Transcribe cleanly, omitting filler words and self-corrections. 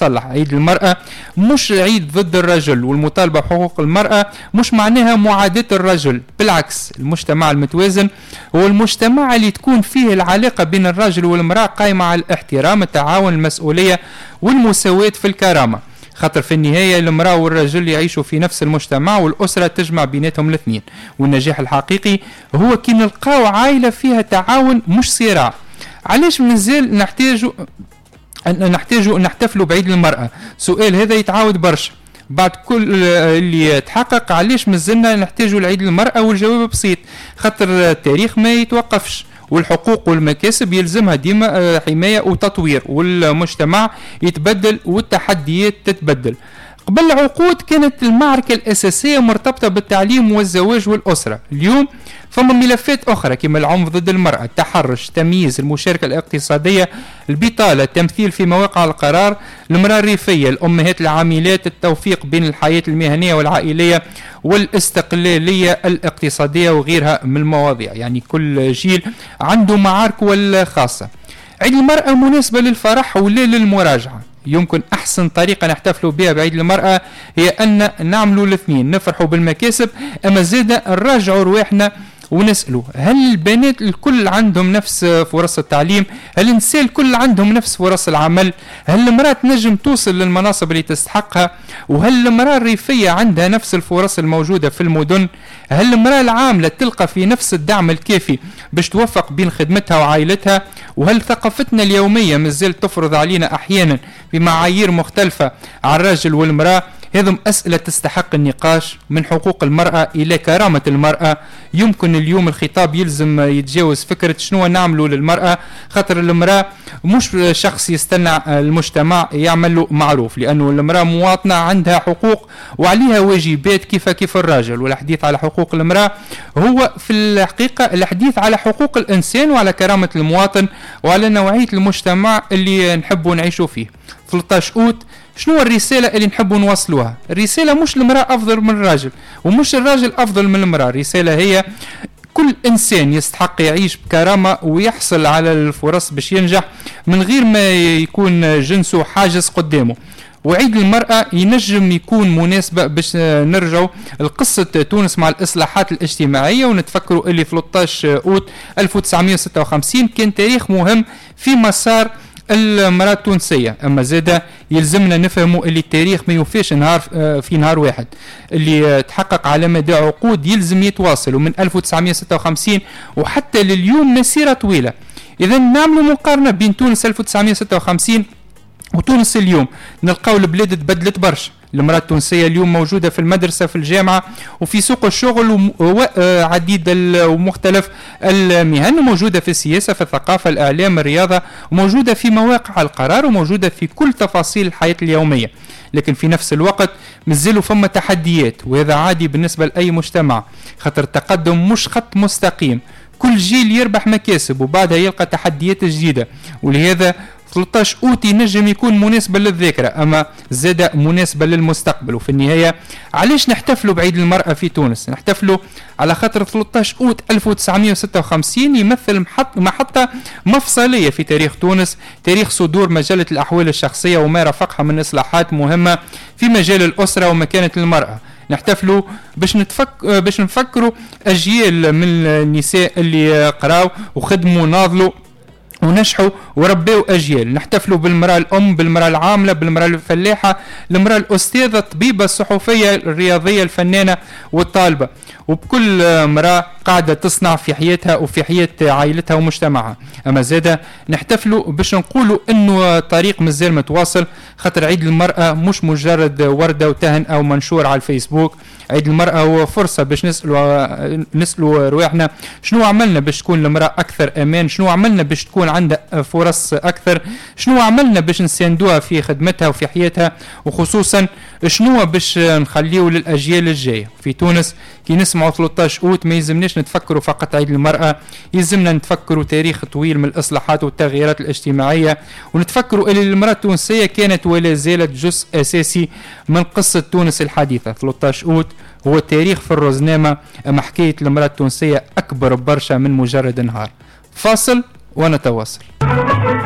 تتصلح. عيد المرأة مش عيد ضد الرجل، والمطالبة بحقوق المرأة مش معناها معاداة الرجل، بالعكس المجتمع المتوازن هو المجتمع اللي تكون فيه العلاقة بين الرجل والمرأة قائمة على الاحترام، التعاون، المسؤولية والمساواة في الكرامة. خاطر في النهاية المرأة والرجل يعيشوا في نفس المجتمع والأسرة تجمع بيناتهم الاثنين، والنجاح الحقيقي هو كي نلقاو عائلة فيها تعاون مش صراع. علاش مازال نحتاجوا نحتفلوا بعيد المرأة؟ سؤال هذا يتعاود برشا بعد كل اللي تحقق. علاش مازلنا نحتاجوا لعيد المرأة؟ والجواب بسيط، خاطر التاريخ ما يتوقفش، والحقوق والمكاسب يلزمها ديما حماية وتطوير، والمجتمع يتبدل والتحديات تتبدل. قبل عقود كانت المعركة الأساسية مرتبطة بالتعليم والزواج والأسرة. اليوم فما ملفات أخرى كما العنف ضد المرأة، التحرش، التمييز، المشاركة الاقتصادية، البطالة، التمثيل في مواقع القرار، المرأة الريفية، الأمهات العاملات، التوفيق بين الحياة المهنية والعائلية والاستقلالية الاقتصادية وغيرها من المواضيع. يعني كل جيل عنده معاركه الخاصة. عيد المرأة مناسبة للفرح ولا للمراجعة. يمكن أحسن طريقة نحتفلوا بها بعيد المرأة هي أن نعملوا الاثنين، نفرحوا بالمكاسب أما زادة نراجعوا رواحنا ونسألوا هل البنات الكل عندهم نفس فرص التعليم؟ هل النساء الكل عندهم نفس فرص العمل؟ هل المرأة تنجم توصل للمناصب اللي تستحقها؟ وهل المرأة الريفية عندها نفس الفرص الموجودة في المدن؟ هل المرأة العاملة تلقى في نفس الدعم الكافي باش توفق بين خدمتها وعائلتها؟ وهل ثقافتنا اليومية مازالت تفرض علينا أحيانا بمعايير مختلفة على الرجل والمرأة؟ هذم أسئلة تستحق النقاش. من حقوق المرأة إلى كرامة المرأة، يمكن اليوم الخطاب يلزم يتجاوز فكرة شنو نعمله للمرأة، خاطر المرأة مش شخص يستنى المجتمع يعمل له معروف، لأنه المرأة مواطنة عندها حقوق وعليها واجبات كيف الراجل. والحديث على حقوق المرأة هو في الحقيقة الحديث على حقوق الإنسان وعلى كرامة المواطن وعلى نوعية المجتمع اللي نحبه نعيشه فيه. 13 أوت شنو الرسالة اللي نحبوا نوصلوها؟ الرسالة مش المرأة أفضل من الراجل ومش الراجل أفضل من المرأة، الرسالة هي كل إنسان يستحق يعيش بكرامة ويحصل على الفرص باش ينجح من غير ما يكون جنسه حاجز قدامه. وعيد المرأة ينجم يكون مناسبة باش نرجعوا لقصة تونس مع الإصلاحات الاجتماعية ونتفكروا اللي 13 أوت 1956 كان تاريخ مهم في مسار المرأة التونسية. أما زادة يلزمنا نفهموا اللي التاريخ ما يوفيش نهار في نهار واحد، اللي تحقق على مدى عقود يلزم يتواصل، ومن 1956 وحتى لليوم مسيرة طويلة. إذا نعملوا مقارنة بين تونس 1956 وتونس اليوم، نلقاو البلاد تبدلت برشا. المرأة التونسية اليوم موجودة في المدرسة، في الجامعة، وفي سوق الشغل وعديد ومختلف المهن، وموجودة في السياسة، في الثقافة، الإعلام، الرياضة، وموجودة في مواقع القرار، وموجودة في كل تفاصيل الحياة اليومية. لكن في نفس الوقت مازالوا فما تحديات، وهذا عادي بالنسبة لأي مجتمع، خاطر التقدم مش خط مستقيم، كل جيل يربح مكاسب وبعدها يلقى تحديات جديدة. ولهذا 13 أوت ينجم يكون مناسبة للذاكرة أما زاد مناسبة للمستقبل. وفي النهاية علاش نحتفلوا بعيد المرأة في تونس؟ نحتفلوا على خاطر 13 أوت 1956 يمثل محطة مفصلية في تاريخ تونس، تاريخ صدور مجلة الأحوال الشخصية وما رافقها من إصلاحات مهمة في مجال الأسرة ومكانة المرأة. نحتفلوا باش نفكروا أجيال من النساء اللي قراوا وخدموا وناضلوا ونجحوا وربوا أجيال. نحتفلوا بالمرأة الأم، بالمرأة العاملة، بالمرأة الفلاحة، المرأة الأستاذة، الطبيبة، الصحفية، الرياضية، الفنانة والطالبة، وبكل امرأة قاعدة تصنع في حياتها وفي حياة عائلتها ومجتمعها. أما زادة نحتفلوا باش نقولوا إنه طريق مازال متواصل، خاطر عيد المرأة مش مجرد وردة وتهنئة أو منشور على الفيسبوك. عيد المرأة هو فرصة باش نسألوا رواحنا شنو عملنا باش تكون المرأة أكثر أمان، شنو عملنا باش تكون عندها فرص أكثر، شنو عملنا باش نساندوها في خدمتها وفي حياتها، وخصوصا شنو باش نخليه للأجيال الجاية. في تونس كي نسمعوا 13 أوت ما يلزمناش نتفكروا فقط عيد المرأة، يلزمنا نتفكروا تاريخ طويل من الإصلاحات والتغييرات الاجتماعية، ونتفكروا اللي المرأة التونسية كانت ولا زالت جزء أساسي من قصة تونس الحديثة. 13 أوت هو تاريخ في الرزنامة، أما حكاية المرأة التونسية أكبر برشا من مجرد نهار. فاصل ونتواصل.